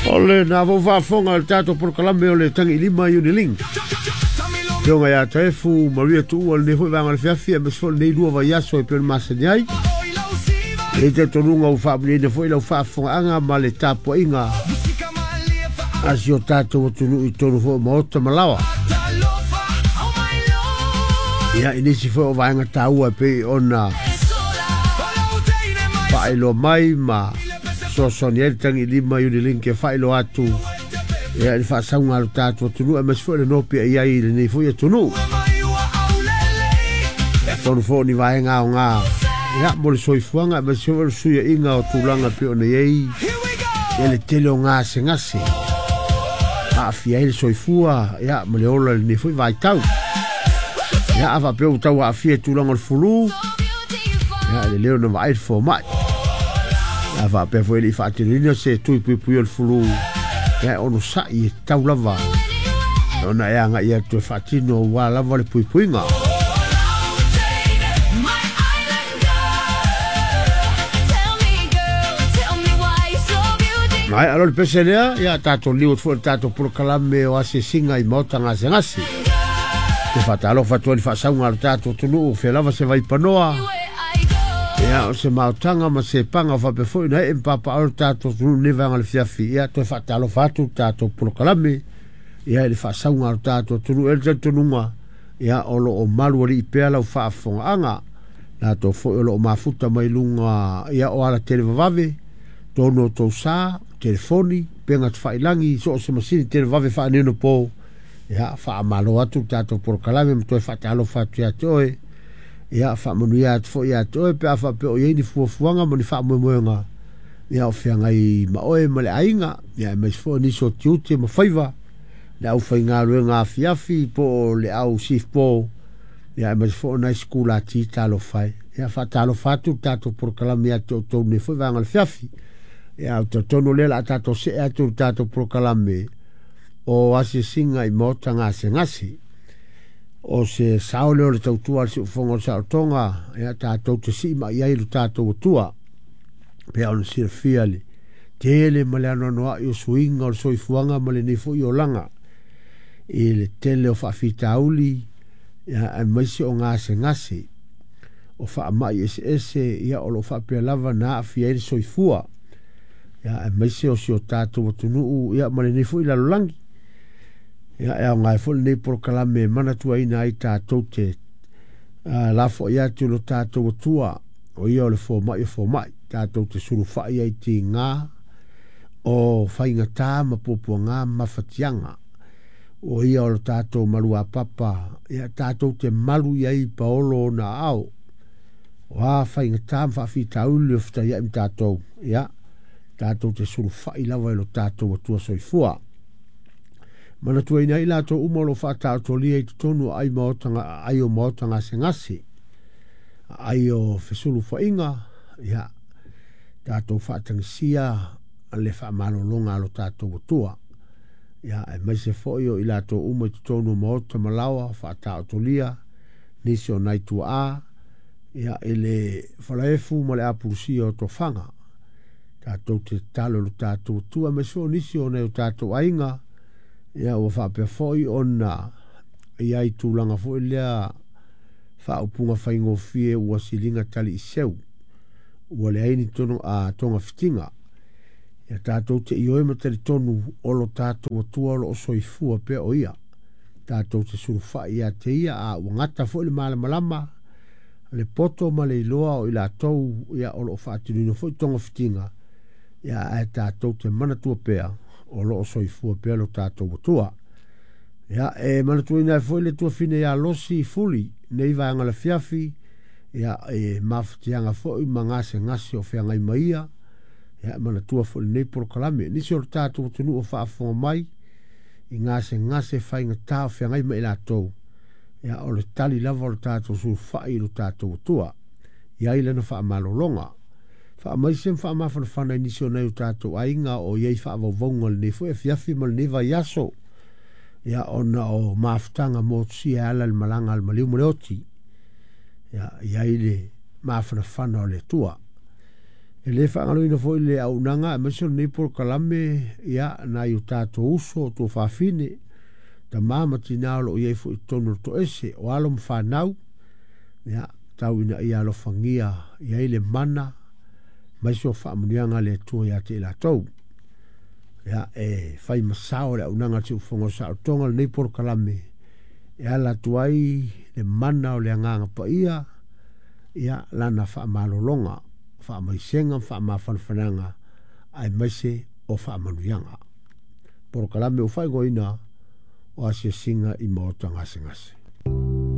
O lena foi faafofoga i le tatou polokalame o le Tagiilima Unilink. Afioga ia Taefu Maria Tuua lenei foi vaega o le fiafi aemaise foi lenei lua vaiaso e pei ona masani ai. E i ai talitonuga ua faamuliaina foi lau faafofogaaga ma le tapuaiga a si o tatou atunuu i totonu foi o maota ma laoa. Ia, i nisi foi o vaega taua e pei ona faailoa mai ma fesoasoani ai le Tagiilima Unilink e faailoa atu ia i le faasauga a lo tatou atunuu aemaise foi le nopiai i ai i lenei foi atunuu. Tonu foi o ni vaega aoga ia mo le soifuaga aemaise foi o le fesuiaiga o tulaga e pei ona i ai ia le tele o gasegase aafia ai le soifua ia ma le ola i lenei foi vaitau. Ia a faapea ua tau aafia i tulaga o le fulu, ia e lelei ona vaai le fomai. A faapea foi e le i faatinoina se tui puipuia o le fulu, ia e onosai e tatau lava ona e agai atu e faatino aua lava le puipuiga. Maea loa le pese lea, ia tatou liu atu foi i le tatou polokalame o asiasiga i maota gasegase. Te faatalofa atu ai i le faasauga a lo tatou atunuu, fea lava se vaipanoa, ia o se maotaga ma se paga o faapea foi ona ee ma papaaao lo tatou atunuu i lenei vaega o le fiafi. Ia toe faatalofa atu le tatou polokalame ia i le faasauga a lo tatou atunuu. E i ai le talitonuga, ia o lo o malualii pea lau faafofogaaga, latou foi o lo o mafuta mai luga ia o ala televavave, tonu o tou sa, telefoni, upega tafailagi, so o se masini televavave faaneionapo. Ia faamalo atu le tatou polokalame ma toe faatalofa atu ia te oe. Ia faamanuia atu foi ia te oe pe a faapea o i ai ni fuafuaga ma ni faamoemoega ia o feagai ma oe ma le aiga, ia aemaise foi o nisi o tiute ma faiva, le aufaigaluega afiafi po o le au sift po, ia aemaise foi o nai sikulati talofa e. Ia faatalofa atu le tatou polokalame ia te outou nei foi vaega o le fiafi. Ia ou te talitonu o lea o le a tatou see atu i le tatou polokalame o asiasiga i maota gasegase. O se sao lea o le tautua a le siufofoga o le saolotoga, ia tatou te sii mai ai lo tatou Atua. Pei ona silafia le tele ma le anoanoai o suiga o le soifuaga ma lenei foi olaga i le tele o faafitauli, ia, aemaise o gasegase o faamai eseese, ia, o lo o faapea lava na aafia ai le soifua, ia, aemaise o si o tatou atunuu, ia, ma lenei foi lalolagi. Ia, e aoga ai foi lenei polokalame e manatuaina ai tatou te lafoai atu i lo tatou Atua, o ia o le fomai o fomai, tatou te sulufai ai i tiga o faigata ma puapuaga ma mafatiaga. O ia o lo tatou maluapapa, ia tatou te malu i ai i paolo ona aao. O a faigata ma faafitauli o fetaiai ma tatou, ia tatou te sulufai lava i lo tatou Atua soifua. Manatuaina ai latou uma o lo o faataotolia i totonu o aai maota, aai o maota gasegase, aai o fesulufa'iga, ia tatou faatagisia le faamalologa a lo tatou Atua. Ia aemaise foi o i latou uma i totonu o maota ma laoa faataotolia, nisi o nai tuaa, ia i le falaefu ma le apulusia o tofaga. Tatou te tatalo i lo tatou Atua, aemaise foi o nisi o nai o tatou aiga, ia ua faapea foi ona i ai tulaga foi lea faaupuga faigofie ua siliga tali i seu, ua leai ni togafitiga. Ia tatou te ioe ma talitonu o lo tatou Atua o lo o soifua pea o ia. Tatou te sulufai ia te ia, a ua gata foi le malamalama, le poto ma le iloa o i latou ia o lo o faatinoina foi togafitiga, ia ae tatou te manatua pea o lo o soifua pea lo tatou Atua. Ia e manatuaina ai foi le tuafine ia Losi Fuli nei vaega lafiafi, ia e mafatiaga foi ma gasegase o feagai ma ia, ia e manatua foi lenei polokalame. Nisi o le tatou atunuu o faafofoga mai i gasegase faigata o feagai ma i latou, ia o le tali lava o le tatou sulufai i lo tatou Atua, i ai lana faamalologa. Faamaise ma faamafanafana i nisi o nai o tatou aiga o i ai faavauvauga i lenei foi afiafi ma lenei vaiaso, ia ona o mafutaga motusia e ala i le malaga a le maliu ma le oti, ia i ai le mafanafana o le Atua. E lē faagaloina foʻi le auaunaga aemaise o lenei polokalame ia nai o tatou uso o tuafafine tamā ma tinā o loo i ai foʻi totonu o le toese o alo ma fanau ia tau ina ia alofagia i ai le mana maise o faamanuiaga a le Atua iā te i latou. Ia e fai ma sao le auaunaga a le Siufofoga o Saolotoga lenei polokalame e ala atu ai le mana o le Agaga Paia ia lana faamalologa faamaisega ma faamafanafanaga aemaise o faamanuiaga. Polokalame ua faaigoaina o asiasiga i maota gasegase.